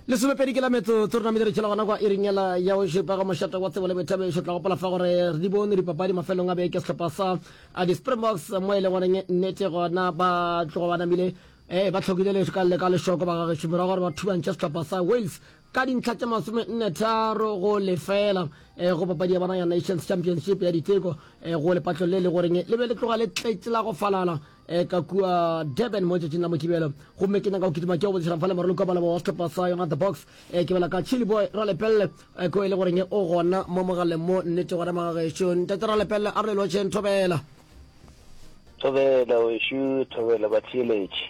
Lesomepedi ke la metsotso re namile re tšhela gona kwa iring yela ya go šupa ga mošate wa tsebo le boithabišo. Tla gopola fa gore re di bone dipapadi mafelong a beke sehlopha sa di-Springboks mo e leng goreng nnete gona ba tloga ba namile eh, ba hlokile le ka le ka lešoko ba gagešo morago gore ba thubantšhe sehlopha sa Wales ka dintlha tše 43 go lefela eh, go papadi ya bona ya Nations Championship ya diteko eh, go lepatlo le le goreng le be le tloga le tletše la go falala E ka kua Durban mo letšatšing la Mokibelo. Gomme ke nyaka go kitima ke go botšišana fa le moraloki wa maloba wa sehlopha sa yona The Box. E ke bala ka Chili Boy Ralepelle e ko e le goreng o gona mo mogaleng mo nnete gona magagešo. Ntate Ralepelle a re le lotšheng thobela. Thobela wešo, thobela batheeletši.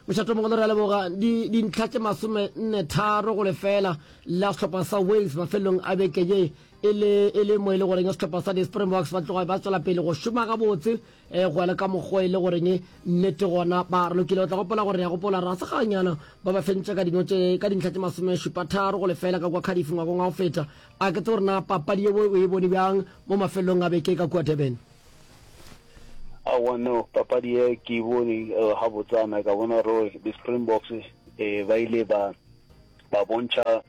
Mošato mogolo re a leboga. Di dintlha tše 43 go lefela la sehlopha sa Wales mafelelong a beke ye e le e le mo e le goreng sehlopha sa di-Springboks ba tloga ba tswela pele go šoma gabotse E, go ya le ka mokgwa e le goreng nnete gona ba re lokile. O tla gopola gore re a gopola ra seganyana ba ba fentše ka dino tše ka dintlha tše 73 go lefela ka kua Cardiff ngwakong wa go feta. A ke tsebe gore na papadi yeo o e bone bjang mo mafelelong a beke ka kua Durban. Aowa no, papadi ye ke e bone gabotsana, ka bona gore di-Springboks ba ile ba ba bontšha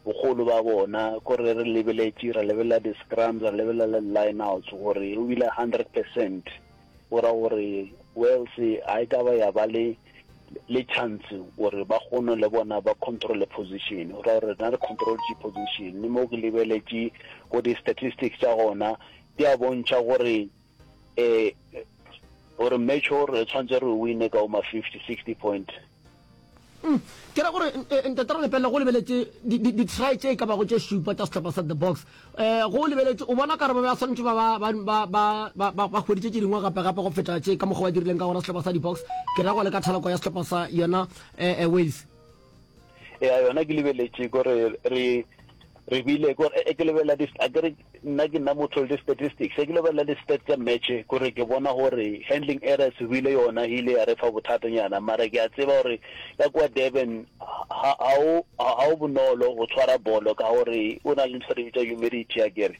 Bogolo ba bona, ko re re lebeletše, ra lebelela di-scrums, ra lebelela le di-lineouts, gore o bile 100 percent. Go ra gore Wales ga e ka ba ya ba le le chance gore ba kgone le bona ba controle position. Go ra gore rena re controltše position. Le mo ke lebeletše go di-statistics tša gona, di a bontšha gore um gore match o re tshwanetse re wine ka o ma 50, 60 point. Mm, ke ra gore eh, ntate Ralepelle go lebeletše di-try tše e ka bago tše šupa tša sehlopha sa the box um go lebeletše o bona kare ba ba swanetše ba ba hweditše tše dingwe gape gape go feta tše ka mokgwa ba dirileng ka gona sehlopha sa di-box ke ra go le ka thaloko ya sehlopha sa yona um Wales ya yona ke lebeletše kore re re bile kore e ke lebelela di a kere nna ke nna motho le di-statistics e ke lebelela di-stats tsa match kore ke bona gore handling errors bile yona e ile ya re fa bothatanyana mara ke a tseba gore ka kwa Durban ha o bonolo go tshwara bolo ka gore o na le ntho re bitsa humidity a kere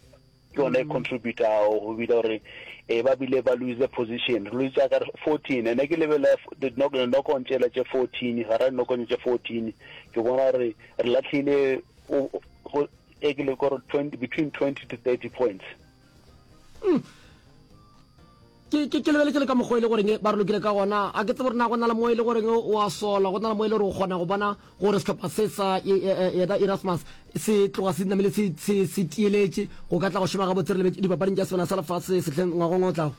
ke yona e contributago go bile gore e ba bile ba lose position re lose ka 14 ene ke lebelela di knock on tšela tše 14 ga ra knock on tše 14 ke bona gore re latlhile go e ke le gore 20 between 20 to 30 points mm. Ke, ke, ke lebeletše le ka mokgwa e le goreng ba re lokile ka gona. A ke tsebe gore na go na le mo e le goreng o a sola, go na le mo e le gore o kgona go bona gore sehlopha se sa yena Erasmus se tloga se namile se, se, se tieletše go ka tla go šoma gabotse re lebetše dipapading tša Sebana sa Lefase sehleng ngwagong o tlago.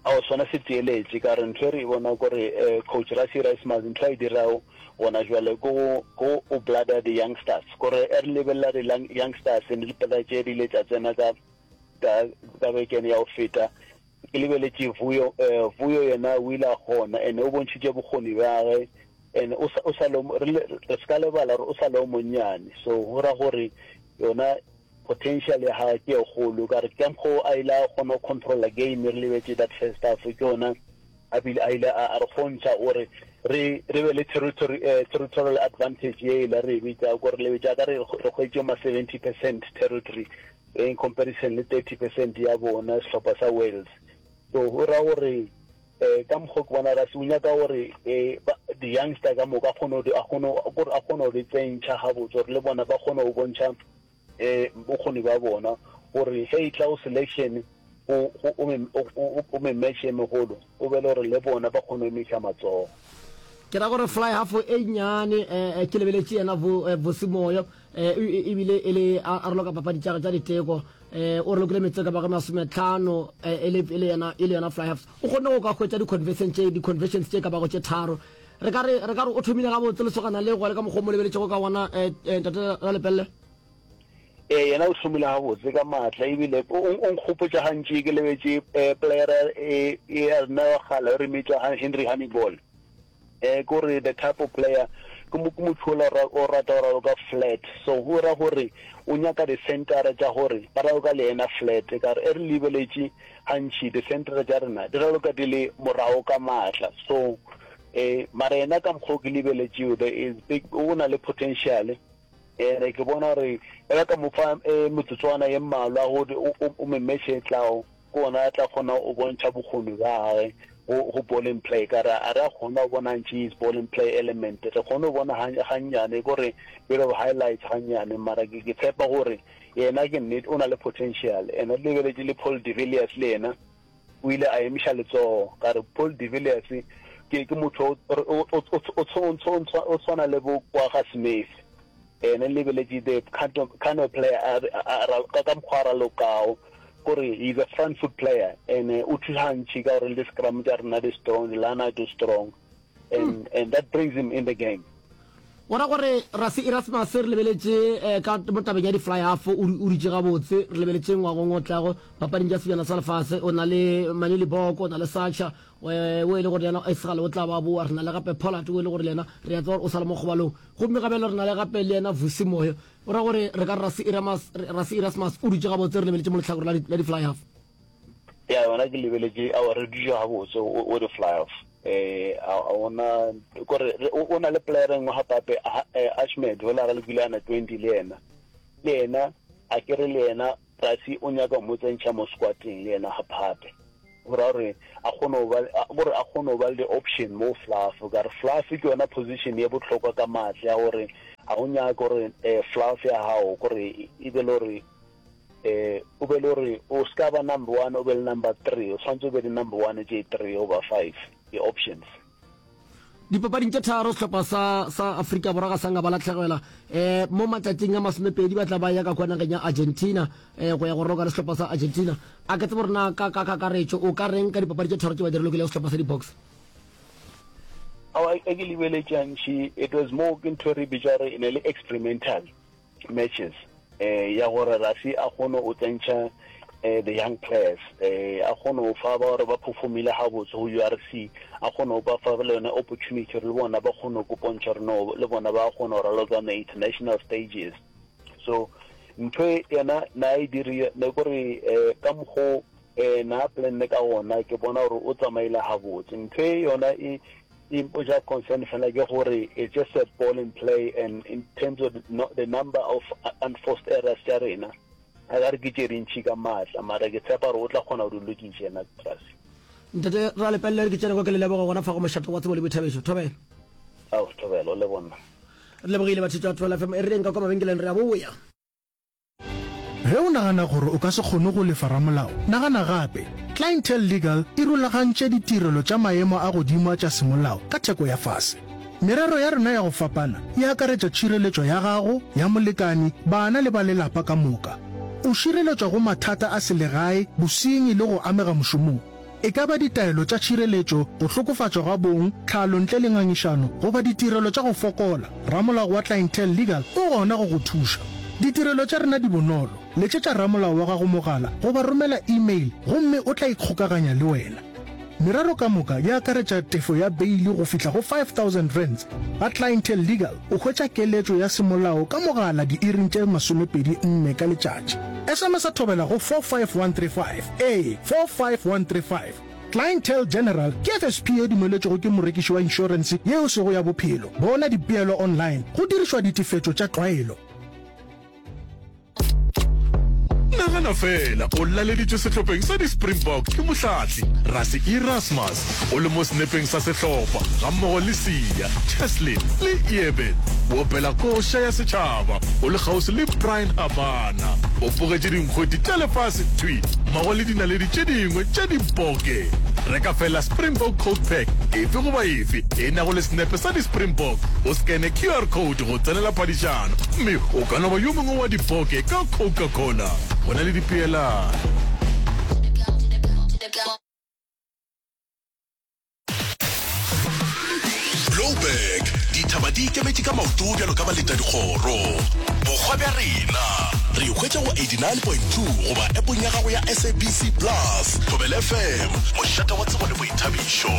Ao, sona se tieletše ka gore ntho e re e bona kore eh, coach Rassie Erasmus ntho a e dirago gona jwale ke go, ke go blada di-youngsters kore e re lebelela di-youngsters le dipela tše di ile tša tsena ka Ka, ka bekene ya go feta, ke lebeletše Vuyo, eh, Vuyo yena o ile a kgona, and o bontšhitše bokgoni bja gage, and o sa, o sa le, re, re se ka lebala gore o sa le o monnyane, so go ra gore yona potential ya gage ke e kgolo, ka re ka mokgwa o a ile a kgona go controlla game, re lebetše that first half, ke yona a bile a ile a, a re kgontšha gore re, re be le territory, eh, territorial advantage ye e la re e bitša, gore lebetša ka re, re hwetše ma 70% territory, in comparison le 30 percent ya bona sehlopha sa Wales. So go ra gore eh ka mokgwa ke bona Rassie o nyaka gore eh di-youngster ka moka a kgone a kgone gore a kgone go di tsentšha gabotse gore le bona ba kgone go bontšha eh bokgoni ba bona gore ge e tla go selection o o me match e megolo o be le gore le bona ba kgone go emiša matsogo. Ke ra gore fly half e nnyane eh, ke lebeletše yena Vusi Moyo eh, ebile e le a raloka papadi tša tša diteko eh, o ralokile metsotso ka bago masometlhano eh, e le e le yena e le yena fly half o kgonne go ka hwetša di-conversion tše di-conversions tše ka bago tše tharo re ka re re ka re o thomile gabotse lesogana le go le ka mokgwa o mo lebeletšego ka gona eh, eh, ntate Ralepelle. Ee, yena o šomile gabotse ka maatla ebile o o nkgopotša gantši ke lebetše eh, playera e e ya rena wa kgale re mmitša Henry Honiball. Eh, ke gore the type of player ke mo ke motho ola o rata go raloka flat, so go ra gore o nyaka di-centre tša gore ba raloka le yena flat. Ka gore e re lebeletše gantši di-centre tša rena di raloka di le morago ka maatla, so eh mara yena ka mokgwa o ke lebeletšeo there is big o na le potential. Ene ke bona gore e ba ka mo fa metsotswana ye mmalwa gore o me match e tlago, ke gona a tla kgona go bontšha bokgoni bja gage. Go, go ball in play, ka re a re a kgona go bona ntši his ball in play element. Re kgone go bona gannyane, ko re bit of highlights gannyane, mara ke, ke tshepa gore yena ke nnete o na le potential. And re lebeletše le Paul de Villiers le yena o ile a emiša letsogo, ka re Paul de Villiers ke, ke motho o, o, o, o, o, o, o tshwana le bo Kwagga Smith. Ene lebeletše the kind of, kind of player a, a, a, ka, ka mokgwa a ralokago, kore he's a front foot player and o thuša gantši ka gore le di-scrum tša rena di strong, di-line out di strong and, and that brings him in the game. Go ra gore Rassie Erasmus re lebeletše eh, ka mo tabeng ya di-fly half o o dutše gabotse. Re lebeletše ngwagong o tlago papading tša sebjana sa lefase o na le Manie Libbok, o na le Sacha o e le gore le yena e segale o tla ba boa. Re na le gape Pollard o e le gore le yena re a tseba gore o sa le mo kgobalong. Gomme gabjale re na le gape le yena Vusi Moyo. Go ra gore re ka re Rassie Erasmus, Rassie Erasmus o dutše gabotse re lebeletše mo lehlakore la di, la di-fly half. Ya yona ke lebeletše aowa re dutše gabotse o o di-fly half. Eh a ona kore o na le player e nngwe gape gape Ahmed yola ralokile ana 20 le yena. Le yena a ke re le yena Rassie o nyaka go mo tsentšha mo squadeng le yena gape gape. Go ra gore a kgone go ba gore a kgone go ba le option mo fluff ka re fluff ke yona position ye bohlokwa ka matla ya gore ga o nyake gore fluff ya gago kore e be le gore eh o be le gore o se ka ba number one o be le number three o tshwanetse o be le number one tše three goba five di-options. Dipapading tše tharo sehlopha sa sa Afrika Borwa ga sa nka ba lahlegelwa. Um mo matšatšing a masomepedi ba tla ba ya ka kua nageng ya Argentina um go ya go roka le sehlopha sa Argentina. A ke tsebe gore na ka ka kakaretšo o ka reng ka dipapadi tše tharo tše ba di relokilego sehlopha sa di-Boks? Aowa, e ke lebeletše gantši it was more ke ntho e re bitša gore e ne le experimental. matches eh ya gore Rassie a kgone o tsentšha eh the young players eh a kgone o fa ba gore ba performile gabotse go URC a kgone o ba fa le yone opportunity gore le bona ba kgone go kopontšha gore no le bona ba kgone go raloka on the international stages so ntho e yena na e dirile ne kore eh ka mokgo eh na planne ka gona ke bona gore o tsamaile gabotse ntho e yona e E mpotša concern fela ke gore it's just a ball in play and in terms of the number of unforced errors tša rena a ka re ke tše dintši ka maatla mara ke tshepa gore o tla kgona go di lokiša yena Trasi. Ntate Ralepelle re ke tšene kwa ke le leboga gona fa go mošate wa tsebo le boithabišo. Thobela. Ao, thobela, o le bonna. Re lebogile batho tša Thobela FM. E re reng ka kwa mabenkeleng re a boya. Ge o nagana gore o ka se kgone go lefa ramolao, nagana gape. Clientele Legal e rulagantše ditirelo tša maemo a godimo a tša semolao ka theko ya fase. Merero ya rena ya go fapana e akaretša tšhireletšo ya gago, ya molekani, bana le ba lelapa ka moka. O šireletšwa go mathata a selegae, bosenyi le go amega mošomong. E ka ba ditaelo tša tšhireletšo, go hlokofatšwa ga bong, tlhalo ntle le ngangišano, goba ditirelo tša go fokola, ramolao wa Clientele Legal o gona go go thuša. Ditirelo tša rena di bonolo, letšetša ramolao wa gago mogala goba romela e-mail gomme o tla ikgokaganya le wena. Merero ka moka e akaretša tefo ya beili go fihla go R5000. Ga Clientele Legal o hwetša keletšo ya semolao ka mogala diiring tše 24 ka letšatši. SMS-a thobela go 45135. Ee, 45135. Clientele General ke FSP ye dumeletšwego ke morekiši wa inšorense ye e sego ya bophelo. Bona dipeelo online go dirišwa ditefetšo tša tlwaelo. Nagana feela o laleditšwe sehlopheng sa di-Springbok ke mohlahli Rassie Erasmus o le mo senepeng sa sehlopha gammogo le Siya, Cheslin le Eben. O opela koša ya setšhaba o le kgauswi le Bryan Habana. O bogetše dinkgwete tša lefase thwi mmogo le dinaledi tše dingwe tša diboke. Reka feela Springbok Coke Pack efe goba efe e nago le senepe sa di-Springbok, o skene QR code go tsenela phadišano mme o ka no ba yo mongwe wa diboke ka Coca-Cola. Go na le dipeelano. Blouberg, Dithaba di ikemetše ka maoto bjalo ka baletadikgoro. Bohwa bja rena. Re hwetša go 89.2 goba appong ya gago ya SABC Plus. Thobela FM, mošate wa tsebo le boithabišo.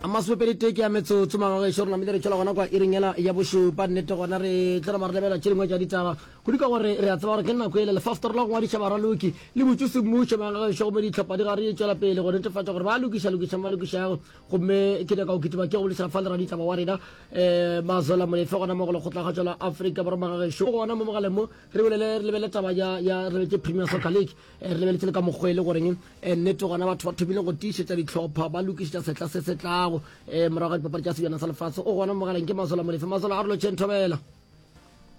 Masomepedi tee ke ya metsotso magagešo re namile re tšwela gona kwa iring yela ya bošupa. Nnete gona re tlo nama re lebelela tše dingwe tša ditaba kudu ka gore re a tseba gore ke nako ele lefastere la go ngwadiša baraloki le butšwe semmušo magagešo gomme dihlopha di gare di tšwela pele go netefatša gore ba lokiša lokiša ba lokišago gomme ke nyaka go kitima ke go boledišana fa le raditaba wa rena um Mazola Molefe gona mo go lekgotlakgatšo la Afrika Borwa magagešo gona mo mogaleng mo re bolele re lebelele taba ya ya re lebetše Premier Soccer League. Re lebeletše le ka mokgwa e le goreng nnete gona batho ba thomile go tiišetša dihlopha ba lokišetša sehla se se tlago um morago ga dipapadi tša sebjana sa lefase. O gona mo mogaleng ke Mazola Molefe. Mazola a re lotšheng thobela.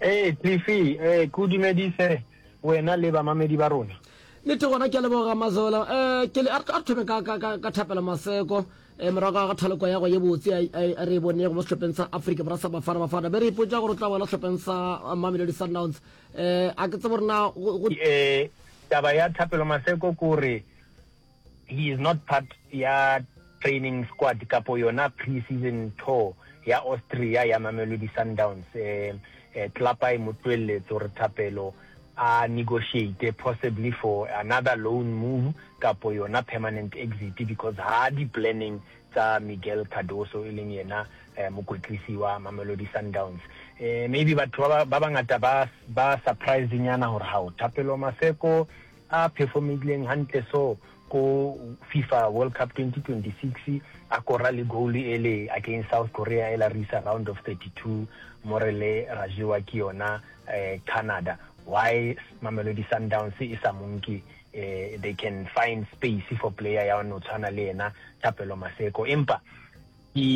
Ee, Cliffy, ee, ke o dumedise wena le bamamedi ba rona. Nnete gona ke a leboga Mazola. Um ke le a re thome ka, ka, ka, ka Thapelo Maseko um morago ga thaloko ya go ye botse a re e bonego mo sehlopheng sa Afrika Borwa sa Bafana Bafana be re ipotša gore o tla boela sehlopheng sa Mamelodi Sundowns. Eh, a ke tsebe gore na go, go. Eh, taba ya Thapelo Maseko ke gore he is not part ya training squad kapo yona pre-season tour ya Austria ya Mamelodi Sundowns. Eh, eh, tlelapa e mo tlohelletse gore Thapelo a negotiate possibly for another loan move kapo yona permanent exit because ha di-planning tsa Miguel Cardoso e leng yena mokwetlisi wa Mamelodi Sundowns. Maybe batho ba ba bangata ba ba surprised nyana hore hao Thapelo Maseko a performileng hantle so ko FIFA World Cup 2026 a kora le goal ele against South Korea ela re isa round of 32 mo re le ra jewa ke yona Canada. Why Mamelodi Sundowns e sa mo nke they can find space for player ya no tshwana le yena Thapelo Maseko empa ke.